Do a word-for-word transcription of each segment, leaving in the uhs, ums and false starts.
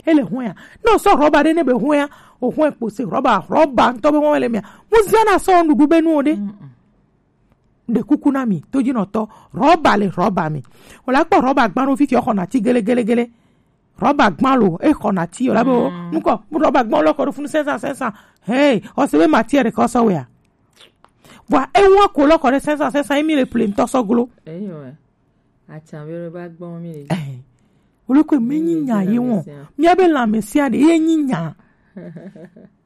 Ele hwɛa. Ne o sɔ rɔba ɖe ne be hwɛa, o hwɛ kpose rɔba, rɔba ŋutɔ be hwɛ le mia. Mu zia na sɔ nuɖuɖu be nu o ɖe. Ɖe kuku na mi, to dzi nɔtɔ. Rɔba le rɔba mi. O la kpɔ rɔba gbã ɖo fifi o xɔ na ti gele gele gele. Rɔba gbã lo, e xɔ na ti o la be o. Nukɔ, mu rɔba gbã lo kɔ ɖo funu sɛnsa sɛnsa. Hey, o se be matière ɖe kɔ sɔ wea. Vɔa, e wa ko lo kɔ ɖe sɛnsa sɛnsa, emi le ple ŋutɔ sɔ glo. Eyo. Atsa be ɖo ba gbɔn mi le. Eh. Wole ko mi nyi nya ye won. Mia be lamɛsɛn ɖe ye nyi nya.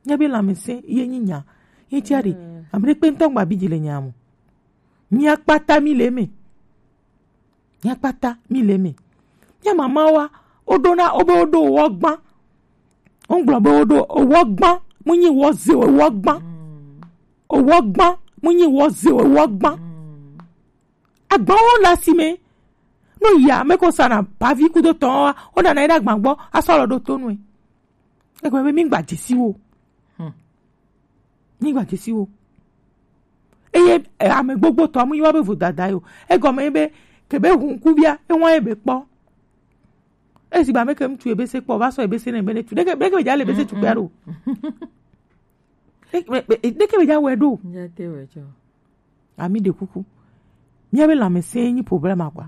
Mia be lamɛsɛn ye nyi nya. Ye tia ɖe. Ame ɖe kpe ŋutɔ gba bi dzi le nya mo. Mia kpata mi le me. Mia kpata mi le me. Mia mama wa, o ɖo na, o be o ɖo wɔ gbã. O gblɔ be o ɖo wɔ gbã. Mu nyi wɔ ze wɔ gbã. O wɔ gbã. Mu nyi wɔ ze wɔ gbã. Agbawo le asime. No ya, ame ko sana pavi kudo tɔn wa, o nana yi ɖe agba gbɔ, asɔ lɔ ɖo to nue. Egɔme be mi gba dzesi wo. Mi gba dzesi wo. Eye, eh, ame gbogbo tɔ mu yi wa be vodada yo. Egɔme ye be, ke be hun ku bia, e wa ye be kpɔ. Esi ba me ke ŋutsu ebe se kpɔ, va sɔ ebe se ne be ne tu. Ɖeke, ɖeke be dza le ebe se tu kpea ɖo. Ɖeke be, be, ɖeke be dza wɔe ɖo. Ami ɖe kuku. Mia be lamɛsɛn nyi problème a quoi.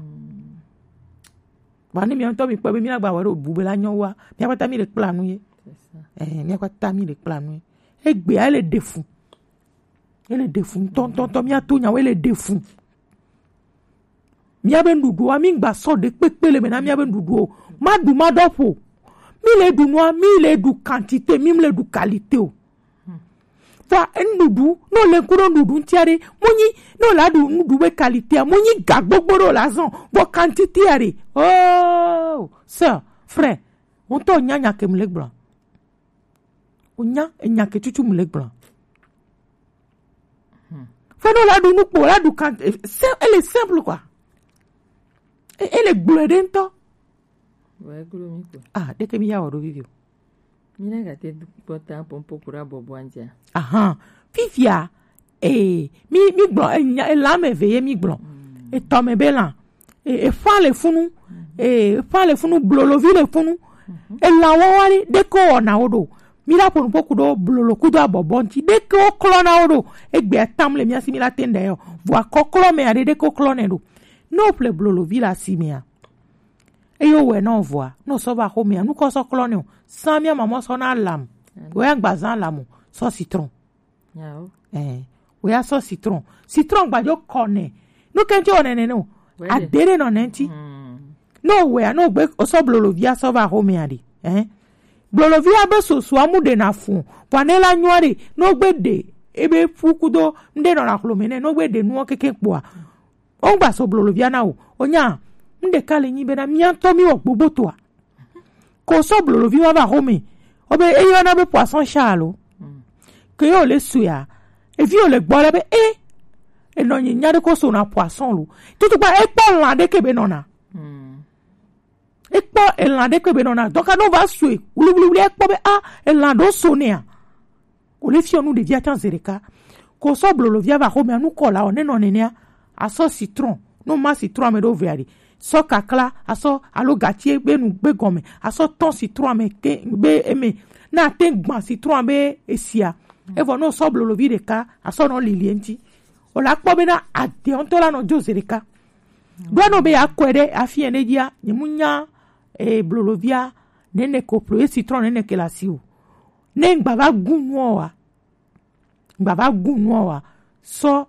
Ba ne mia ŋutɔ mi kpɔ be mia gba wɔ ɖo bu be la nyɔ wa. Mia kpata mi le kpla nu ye. Eh, mia kpata mi le kpla nu ye. Egbea ele ɖe fu. Ele ɖe fu ŋutɔŋutɔ, mia to nyawo ele ɖe fu. Mia be nuɖuɖua, mi gba sɔ ɖe kpekpe le me na mia be nuɖuɖu o. Ma ɖu ma ɖɔ ƒo. Mi le ɖu nua, mi le ɖu quantité, mi le ɖu qualité o. Vɔa nuɖuɖu, no le ku ɖo nuɖuɖu ŋutia ɖe, mo nyi, no la ɖu nuɖuɖu be qualité a, mo nyi ga gbogbo ɖo la zɔn, vɔ quantité a ɖe. Oh, sœur, frère, ŋutɔ nya nya ke mu le gblɔ. Wonya enya ke tutu mu le gblɔ. Fo no la ɖu nukpo, la ɖu kan, eh, sim-, ele simple quoi. E-, ele gblɔe ɖe ŋutɔ. Wa glo mi ko. Ah, ɖeke mi ya wɔ ɖo vivi o. Mi na gate kpɔta pompo kura bɔbɔ antia. Ahan. Fifia, eh, mi, mi gblɔ, enya, ela me ve ye mi gblɔ. Etɔ me be la. E, efa le funu. E, efa le funu, blolovi le funu. Ela wawa ɖe, ɖeke wɔna wo ɖo. Mi la ƒo nuƒo ku ɖo blolo kudo abɔbɔ ŋuti. Ɖeke wo klɔna wo ɖo. Egbe atam le mia si mi la te ŋɖe yɔ. Vɔa kɔklɔ me aɖe ɖeke wo klɔnɛ ɖo. Ne wo ƒle blolovi le asi mea, eye wo wɔe na wo vɔa, ne wo sɔ va xomea, nu kɔ sɔ klɔnɛ o. San mia mamɔ sɔ na lam. Wo ya gba zan lam o. Sɔ citron. Yawo. Eh, wo ya sɔ citron. Citron gbadzo kɔ nɛ. Nu ke ŋuti wɔ nɛnɛ nɛ o. Ade ɖe nɔ nɛ ŋuti. Ne o wɔea, ne o gbe, o sɔ blolovia sɔ va xomea ɖe. Eh. Blolovia be sosoa mu ɖe na fu. Vɔa ne la nyua ɖe, ne o gbe ɖe, ebe fu kudo, ŋɖe nɔ na xlome nɛ, ne o gbe ɖe nuɔ keke kpoa. O ŋgba sɔ blolovia na o. O nya, ŋɖeka le nyi be na mia ŋutɔ mi wɔ gbogbo toa. Ko sɔ blolovi wa va xome. O be eyɔna be poisson chat alo. Ke yo le suya. Evi o le gbɔ le be e. Enɔ nyi nya ɖe ko so na poisson lo. Tutu gba ekpɔ lan ɖe ke be nɔna. Ekpɔ elan ɖe ke be nɔna. Donc no va sue. Wuli wuli wuli ekpɔ be a elan ɖo so nea. Ko le fiɔ nu ɖevia tsan ze ɖeka. Ko sɔ blolovia va xomea nu kɔ la o ne nɔ nenea. Asɔ citron. No ma citron ame ɖo vea ɖi. Sɔ kakla, asɔ alo gatie be nu gbe gɔme. Asɔ tɔn citron ame ke be eme. Na te gban citron be esia. Evɔ no sɔ blolovi ɖeka, asɔ nɔ lilie ŋuti. O la kpɔ be na ade ŋutɔ la nɔ dzo ze ɖeka. Ɖo no be ya kɔe ɖe afi ene dzia, nye mu nya, e, blolovia, nene ko plo, e citron nene ke la si o. Ne ŋgba va gu nua wa. Ŋgba va gu nua wa. Sɔ,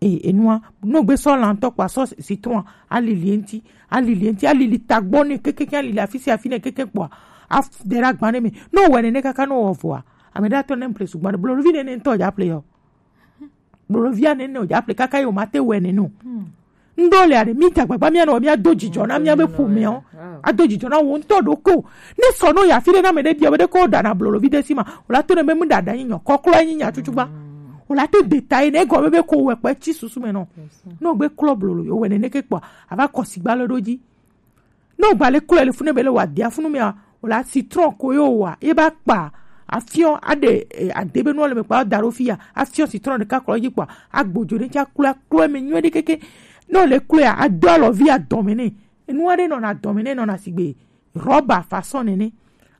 e, enua, no gbe sɔ lantɔ kpa sɔ citron, alili enti, alili enti, alili tagbɔ ne kekeke, alili afisi afi ne keke kpɔa, af-, de ɖe agba ne me. No wɔ nene kaka no wɔ vɔa. Ame ɖe atɔ ne mple sugbɔ, blovi nene ŋutɔ dza ple yɔ. Blolovia nene o dza ple kaka yo ma te wɔ nene o. Ŋɖo le aɖe, mi ta gbagba mia nɔ mia do dzidzɔ na mia be ƒomeawo. Ado dzidzɔ na wo ŋutɔ ɖokɔ. Ne sɔ no ya fi ɖe na me ɖe bia be ɖe ko ɖana blolovi ɖe si ma. O la to ne be mu ɖaɖa nyi nyɔ, kɔklɔ nyi nya tutu gba. O la te deta yi ne egɔme be ko wɔ kpe tsi susu me nɔ. No gbe klɔ blolo yo wɔ nene ke kpɔ. Ava kɔ sigba le ɖo dzi. Ne o gba le klɔe le funu be le wa dia funu mea, o la citron ko yo wa, ye ba kpa, afiɔ, aɖe, eh, ade be nua le me kpa, da ɖo fi ya, afiɔ citron ɖeka klɔ dzi kpɔa, agbodzo ɖe ŋuti aklɔe, aklɔe me nyuie ɖe keke. Ne o le klɔe ya, ado alɔvi adɔme nɛ. Enua ɖe nɔna adɔme nɛ, nɔna sigbe rɔba façon nene.